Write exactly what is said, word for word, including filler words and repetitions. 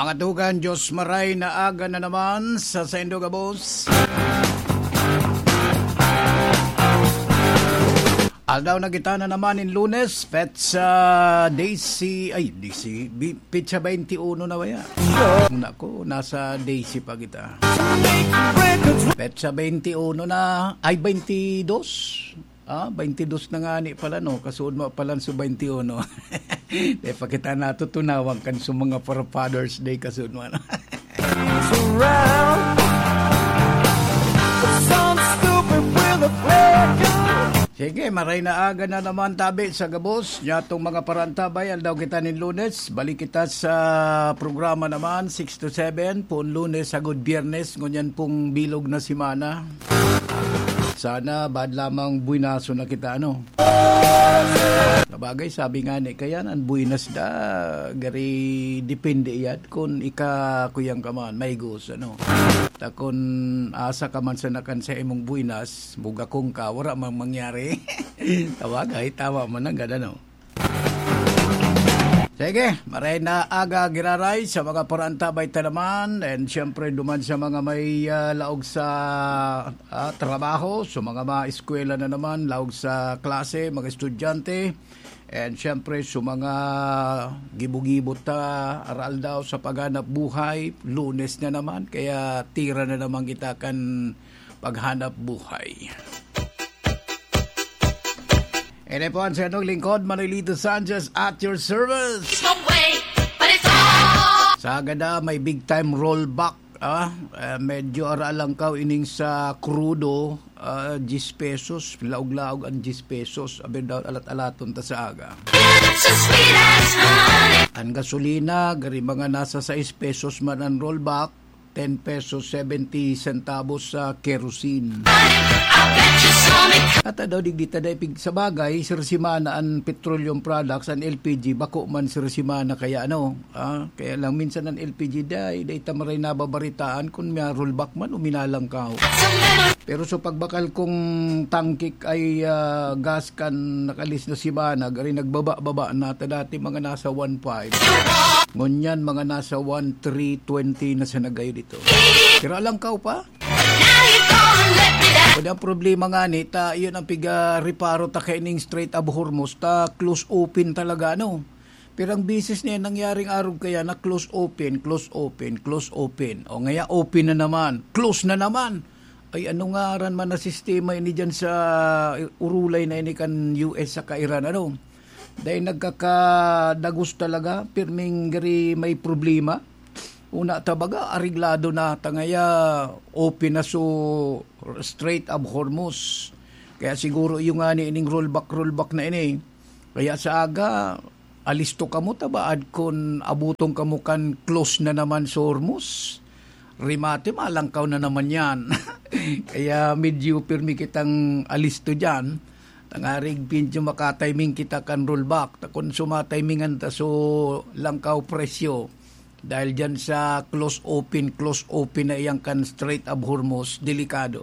Mga tugang, Diyos maray na aga na naman sa saindo gabos. Aldaw na kita na naman in Lunes, petsa desi, ay, desi, bi-, petsa twenty-one na ba yan? Naku, nasa desi pa kita. Petsa twenty-one na, ay, twenty-dos. Ah, twenty-dos na nga ni pala, no? Kasuod mo pala su twenty-one. Di pa kita natutunawan kan su mga Father's Day, kasuod mo, ano? Surround some stupid with a flare gun. Sige, maray na aga na naman tabi sa gabos. Nyatong mga parantabay, aldaw kita nin Lunes. Balik kita sa programa naman, six to seven, pon Lunes, sagod Biyernes, ngunyan pong bilog na semana. Sana bad lamang buenaso na kita, ano? Sabagay, sabi nga ni, kaya nan buenas da, gari depende iyad kun ika kuyang ka man, may gusto, ano? Ta kun asa ka man sa nakan sa imong buenas, bugakong ka, wala mang mangyari. Sabagay, tama man ang gada, no? Sige, maray na aga giraray sa mga parantabay ta naman. And siyempre, duman sa mga may, ah, laog sa, ah, trabaho, sa mga, mga eskwela na naman, laog sa klase, mga estudyante. And siyempre, sa mga gibo-gibo ta, aral daw sa paghanap buhay, Lunes na naman, kaya tira na naman kita kan paghanap buhay. Ini po ang siyatong lingkod, Manolito Sanchez, at your service. It's my way, but it's all. Sa gada, may big time rollback. Ah, eh, medyo aralangkaw ining sa krudo, ah, diyes pesos, laog-laog ang diyes pesos. Abi daw, alat-alaton ta sa aga. It's as sweet as honey. Ang gasolina, gari mga nasa sais pesos man ang rollback, ten pesos seventy centavos sa kerosene. At daw digdi ta dai pig-, sa bagay, sir, semana an petroleum products, an L P G, bako man, sir, semana, kaya ano, ah, kaya lang minsan an L P G dai, dai ta maray nababaritaan kun may rollback man o minalangkaw. Pero sa pagbakal kong tangke ay, ah, gas kan nakalis na semana, gari nagbaba-baba na, ta dati mga nasa one five. Ngunyan, mga nasa one three twenty na sa nagayo dito. Tira lang kaw pa. Pwede ang problema nga ni, ta, yun ang piga reparo ta kaining Strait of Hormuz, ta close open talaga, ano? Pero ang bisis niya nangyaring arog kaya na close open, close open, close open. O ngaya open na naman, close na naman. Ay, ano nga aran man na sistema ini dyan sa urulay na ini kan U S saka Iran, ano? Dahil nagkakadagos talaga, pirming gari may problema. Una ta baga, areglado na, tangaya open na so Strait of Hormuz. Kaya siguro yung nga ni ining rollback, rollback na ini. Kaya sa aga, alisto kamo ta baad kun abuton kamo kan close na naman sa Hormuz. Remate, malangkaw na naman yan. Kaya medyo pirmi kitang alisto dyan. Tangarig medyo makatiming kita kan rollback. Ta kun sumatimingan ta so langkaw presyo, dahil dyan sa close open, close open na iyang kan Strait of Hormuz, delikado.